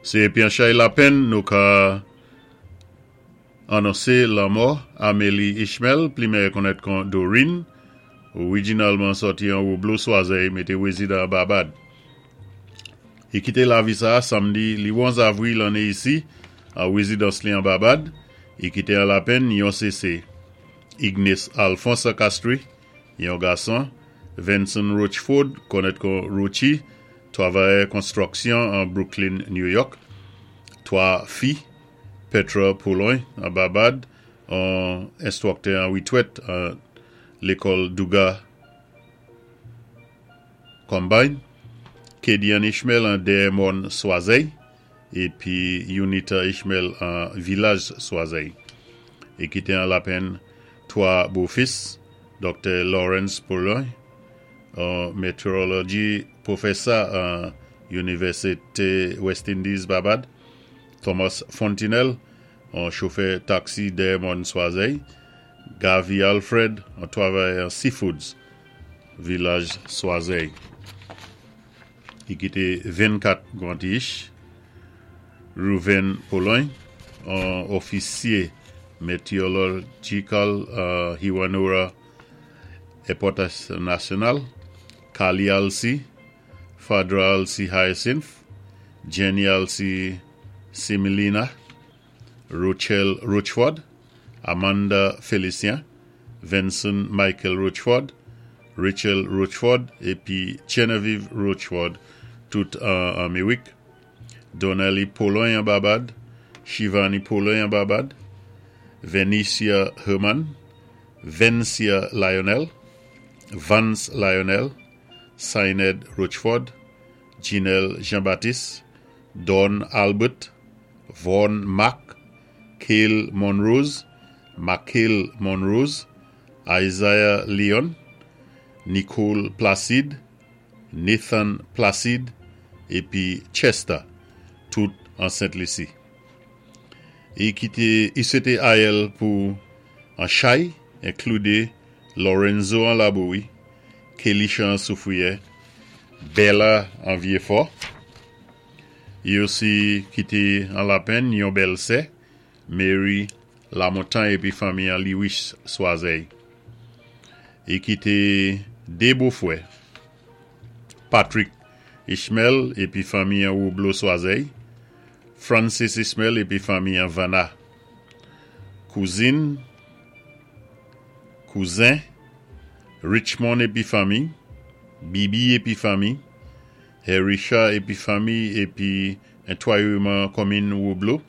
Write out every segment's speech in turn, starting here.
Sé épi an chay lapenn nou ka anonsé lanmò Amélie Ishmael, pli mèyè konnèt kon Doreen, orijinalman sòti an Woblo, Swazèy, mété wézidan an Babad. I kité lavi sa-a samdi li 11 avri lanné isi, an wézidans li an Babad. I kité an lapenn yon sése, Ignace Alphonse an Castries, yon gason, Venson Rochford, konnèt kon Rochi, twavayè konstwiksyon an Brooklyn, New York, 3 fi, Petra Pouloin an Babad, an enstwiktè an witwèt an lékòl Douga Combine, Kedian Ishmael an Dèyè Mòn Swazèy, épi Unita Ishmael an Vilaj Swazèy. I kité an lapenn 3 bofis, Doktè Lawrence Pouloin, an metewoloji pwofèsa an Inivèsité West Indies Babad, Thomas Fontinelle, an chofè taksi Dèyè Mòn Swazèy, Gavi Alfred, an twavayè an Seafoods, Vilaj Swazèy. I kité 24 grandich, Ruven Pouloin, an ofisyé meteorological an Hewanorra Airport National, Kali Alcy, Fadra Alcy Hyacinth, Jenny Alcy Similina, Rochelle Rochford, Amanda Félicien, Venson Michael Rochford, Rachel Rochford épi Genevieve Rochford, tout an Anméwik, Donnelly Pouloin an Babad, Shivani Pouloin an Babad, Venicia Herman, Vencia Lionel, Vance Lionel, Sined Rochford, Ginelle Jean-Baptiste, Don Albert, Vaughn Mack, Kale Monrose, Makale Monrose, Isaiah Leon, Nicole Placide, Nathan Placide épi Chester, tout an Sent Lisi. I kité i swété ayèl pou an chay enklidé Lorenzo an Labouwi, Kelisha an Soufriyè, Bella an Vyéfò. I osi kité an lapenn yon bèlsè, Mary Lamontagne épi fanmi an Lewis Swazèy. I kité 2 bofwè, Patrick Ishmael épi fanmi an Woublo Swazèy, Francis Ishmael épi fanmi an Vanna. Kouzin, kouzen, Richmond épi fanmi, Bibi épi fanmi, Herisha épi fanmi épi entwayeman konmin Woublo,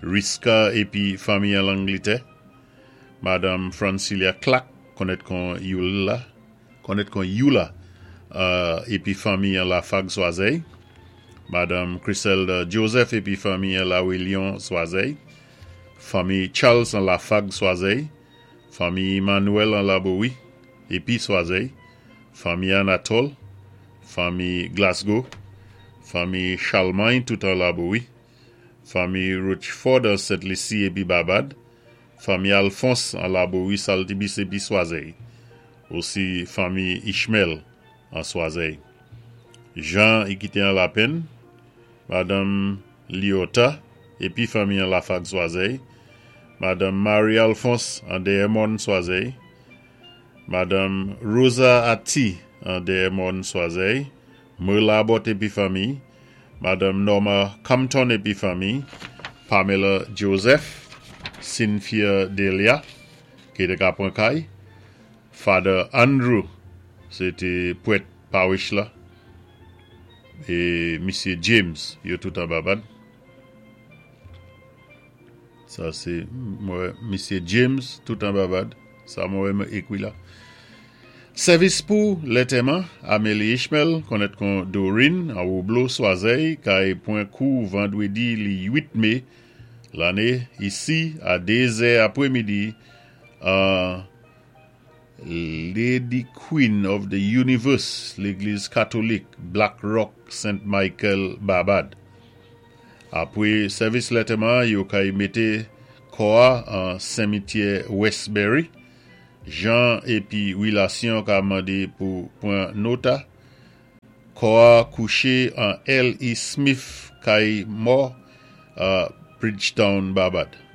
Riska épi fanmi an Langlitè, Madanm Francilia Clack konnèt kon Youla, konnèt kon Youla épi fanmi an Lafag Swazèy, Madanm Chriselda Joseph épi fanmi an Lawelyon Swazèy, fanmi Charles an Lafag Swazèy, fanmi Emmanuel an Labowi épi Swazèy, fanmi Anatole, fanmi Glasgow, fanmi Charlemagne tout an Labowi, fanmi Rochford an Sent Lisi épi Babad, fanmi Alphonse an Labowi Saltibis épi Swazèy, osi fanmi Ishmael an Swazèy. Jean i kité an lapenn, Madanm Liota épi fanmi an Lafag Swazèy, Madanm Marie Alphonse an Dèyè Mòn Swazèy, Madanm Rosa Atti an Dèyè Mòn Swazèy, Merla Abbott épi fanmi, Madanm Norma Compton épi fanmi, Pamela Joseph, Cynthia Delia, ki té ka pran kay, Father Andrew, sé té pwèt parish la, é Misyé James, yo tout an Babad. Sa sé mwen Misyé James tout an Babad, sa mwen wè mwen ékwi la. Sèvis pou lètèman, Amélie Ishmael, konnèt kon Doreen, an Woublo, Swazèy, kay pwan kou vandwédi li 8 mé lanné isi a 2 zè apwémidi an Lady Queen of the Universe, Légliz Katolik, Black Rock, Saint Michael, Babad. Apwé sèvis lètèman an, yo kay mété kò a an senmityè Westbury. Jan épi wilasyon ka mandé pou pwan nota. Kò-a kouché an L. E. Smith kay mò, Bridgetown, Barbad.